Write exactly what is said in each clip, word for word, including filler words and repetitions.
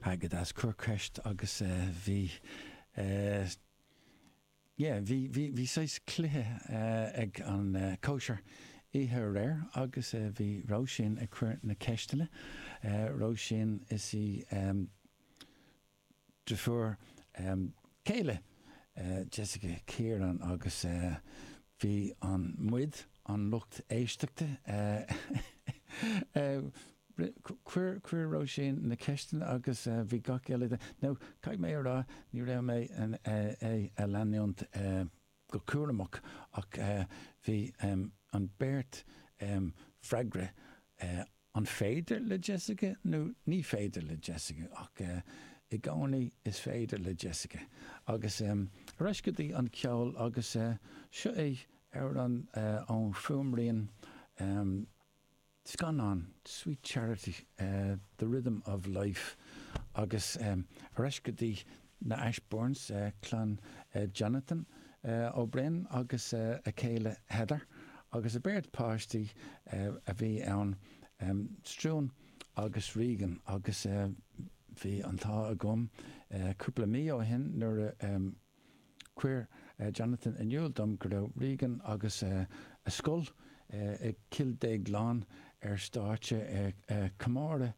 Go deas, cuir ceist agus bhí yeah, bhí bhí bhí saghas cluiche ag an cóisir oíche aréir agus bhí Róisín ag cur na ceisteanna. Róisín, is í deirfiúr céile Jessica Kieran, agus bhí an muid, an lucht éisteachta, chuir chuir Róisín na ceisteanna agus bhí gach uile. Now, caithfidh mé a rá, ní raibh mé é a leanúint go cúramach, ach bhí an beirt freagra "An féidir le Jessica" nó "Ní féidir le Jessica", ach i gcónaí is féidir le Jessica. Agus ar ais go dtí an ceol, agus seo é amhrán ón fuaimrian scannán Sweet Charity, "The Rhythm of Life", agus ar ais go dtí na Ashbournes, clann Jonathan Ó Broin agus a chéile Heather, agus a beirt páistí a bhí ann, Struan agus Regan. Agus bhí an t-ádh agam cúpla mí ó shin nuair a chuir Jonathan in iúl dom go raibh Regan agus a scoil i Cill Déagláin ar stáitse ag comóradh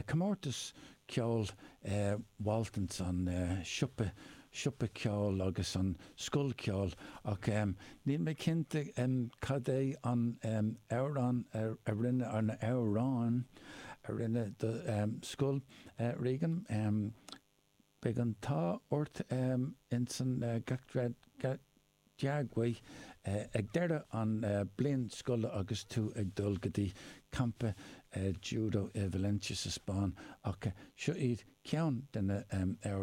comórtas ceoil Waltons, an siopa siopa ceoil agus an scoil ceoil, ach níl mé cinnte cad é an amhrán a rinne, an amhráin a rinne do scoil Regan. Beidh an t-ádh ort insan gach dea-ghuí ag deireadh an bliain scoile agus tú ag dul go dtí campa judo i Valencia sa Spáinn, ach seo iad ceann de na amhráin.